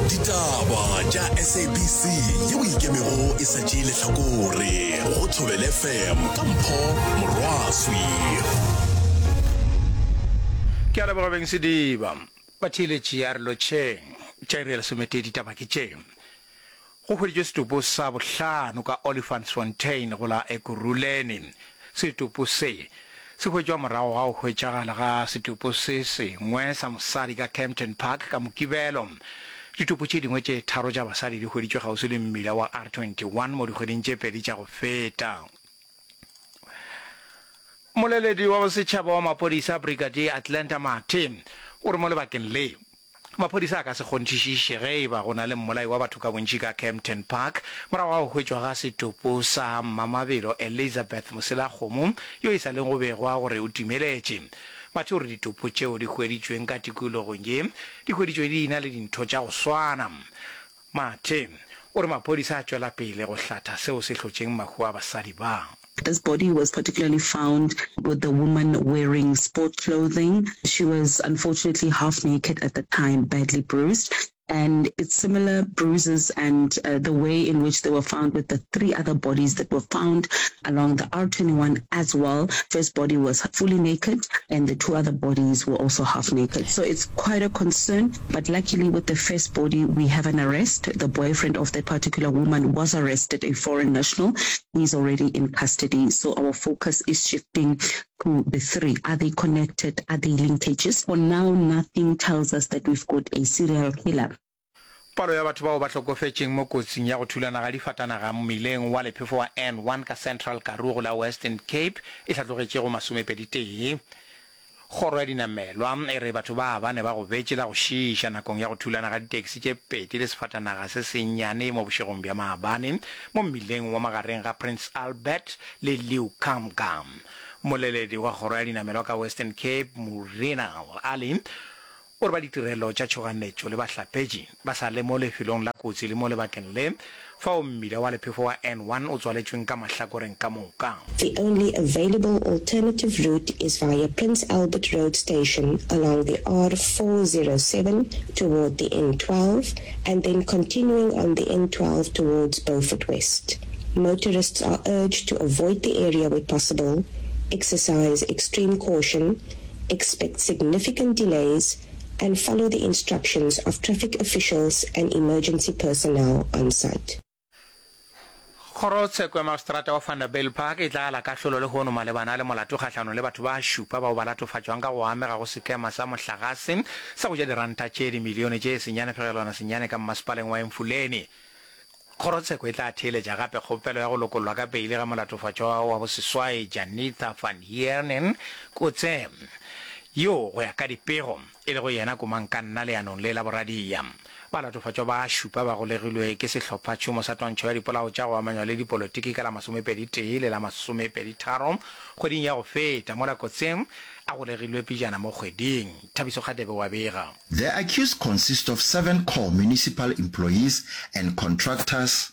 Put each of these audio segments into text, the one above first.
Ditaba tša SABC yeo e ikemego e sa tšee lehlakore go Thobela FM ka Mpho Morwaswi. Ke a leboga beng Sediba. Batheeletši a re lotšheng. Tša iri ya lesometee ditaba ke tše. Go hweditšwe setopo sa bohlano ka Olifantsfontein go la Ekurhuleni. Setopo se se hwetšwa morago ga go hwetšagala ga setopo se sengwe sa mosadi ka Kempton Park ka Mokibelo. Ditopo tše dingwe tše tharo tša basadi di hweditšwe kgauswi le mmila wa R21 mo dikgweding tše pedi tša go feta. Mmoleledi wa bosetšhaba wa maphodisa Brigadier Atlanta Mathe o re mo lebakeng le, Maphodisa a ka se kgonthišiše ge e ba go na le mmolai wa batho ka bontši ka Kempton Park morago ga go hwetšwa ga setopo sa Mmamabelo Elizabeth Moselakgomo yo e sa leng go begwa gore o timeletše. Mathe o re ditopo tšeo di hweditšweng ka tikologong ye di hweditšwe di ena le dintho tša go swana. Mathe o re maphodisa a tšwela pele go hlatha seo se hlotšeng mahu a basadi ba. This body was particularly found with the woman wearing sport clothing. She was unfortunately half naked at the time, badly bruised. And it's similar bruises and the way in which they were found with the three other bodies that were found along the R21 as well. First body was fully naked and the two other bodies were also half naked. So it's quite a concern, but luckily with the first body we have an arrest. The boyfriend of that particular woman was arrested, a foreign national. He's already in custody. So our focus is shifting to the three. Are they connected? Are they linkages? For now, nothing tells us that we've got a serial killer. Palo ya batho bao ba hlokofetšeng mo kotsing ya go thulana ga difatanaga mmileng wa lephefo wa N1 ka Central Karoo go la Western Cape e hlatlogetše go masomepeditee. Kgoro ya dinamelwa e re batho ba bane ba gobetše la go šiiša nakong ya go thulana ga ditaxi tše pedi le sefatanaga se sennyane mo bošegong bja maabane mo mmileng wa magareng ga Prince Albert le Leeuwkamga. Mmoleledi wa kgoro ya dinamelwa ka Western Cape Murinal Ali O re ba ditirelo tša tšhoganetšo le bahlapetši ba sa le mo lefelong la kotsi le mo lebakeng le fao mmila wa lephefo wa N1 o tswaletšweng ka mahlakoreng ka moka. The only available alternative route is via Prince Albert Road Station along the R407 toward the N12 and then continuing on the N12 towards Beaufort West. Motorists are urged to avoid the area where possible, exercise extreme caution, expect significant delays and follow the instructions of traffic officials and emergency personnel on site. Kgorotsheko ya Magistrata wa Vanderbijlpark e tla ala kahlolo lehono malebana le molato kgahlanong le batho ba šupa bao ba latofatšwang ka go amega go sekema sa mohlagase sa go ja diranta tše dimilione tše senyane fegelwana senyane ka mmasepaleng wa Emfuleni. Kgorotsheko e tla theeletša gape kgopelo ya go lokollwa ka peile ga molatofatšwa wa boseswai Janitha van Heerden Kotze, yoo go ya ka dipego e lego yena komangkanna leanong le la boradia. Balatofatšwa ba šupa ba golegilwe ke sehlophatšhomo sa twantšho ya dipolao tša go amanywa le dipolotiki ka la masomepeditee le la masomepeditharo kgweding ya go feta, mola Kotze a golegilwe pejana mo kgweding. Thabiso Kgadebe o a bega. The accused consist of seven core municipal employees and contractors.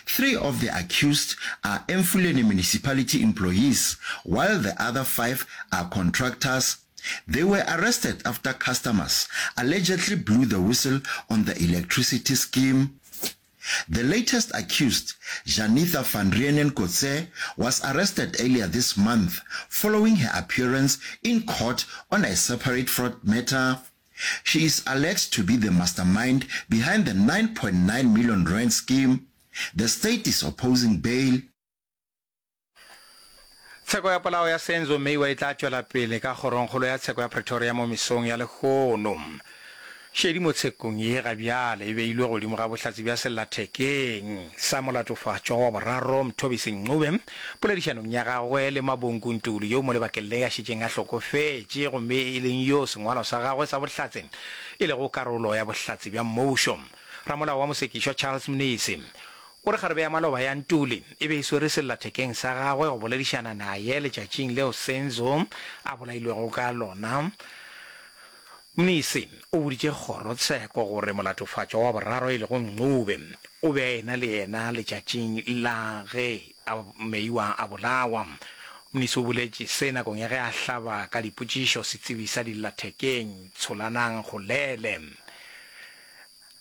Three of the accused are Emfuleni municipality employees while the other five are contractors. They were arrested after customers allegedly blew the whistle on the electricity scheme. The latest accused, Janitha van Reenen Kotze, was arrested earlier this month following her appearance in court on a separate fraud matter. She is alleged to be the mastermind behind the 9.9 million rand scheme. The state is opposing bail. Tsheko ya polao ya Senzo Meyiwa e tla tšwela pele ka Kgorongkgolo ya Tsheko ya Pretoria mo mesong ya lehono. Šedi mo tshekong ye ga bjale e beilwe godimo ga bohlatse bja sellathekeng sa molatofatšwa wa boraro Mthobisi Ncube poledišanong ya gagwe le Mabonku Ntuli yo mo lebakeng le a šetšeng a hlokofetše gomme e leng yo sengwalwa sa gagwe sa bohlatse e lego karolo ya bohlatse bja mmušo. Ramolao wa mosekišwa Charles Mnisi O re kgarebe ya maloba ya Ntuli e be e swere sellathekeng sa gagwe go boledišana naye letšatšing leo Senzo a bolailwego ka lona. Mnisi o boditše kgorotsheko gore molatofatšwa wa boraro e lego Ncube o be a ena le yena letšatšing la ge Meyiwa a bolawa. Mnisi o boletše se nakong ya ge a hlaba ka dipotšišo setsebi sa dillathekeng Tsholanang Golele.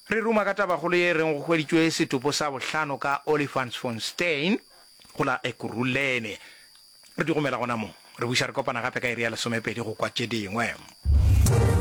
Re ruma ka tabakgolo ye e reng go hweditšwe setopo sa bohlano ka Olifantsfontein go la Ekurhuleni. Re di gomela gona mo. Re buša re kopana gape ka iri ya lesomepedi go kwa tše dingwe.